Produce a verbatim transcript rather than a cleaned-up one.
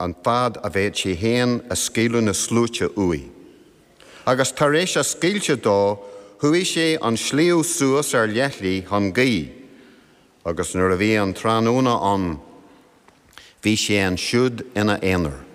An fad a bhféad sé féin a scaoileadh na sluaite uaidh. Agus tar éis a scaoilte dó, chuaigh sé an sliabh suas ar leithligh chun guí, agus nuair a bhí an tráthnóna ann, bhí sé ansiúd ina aonar.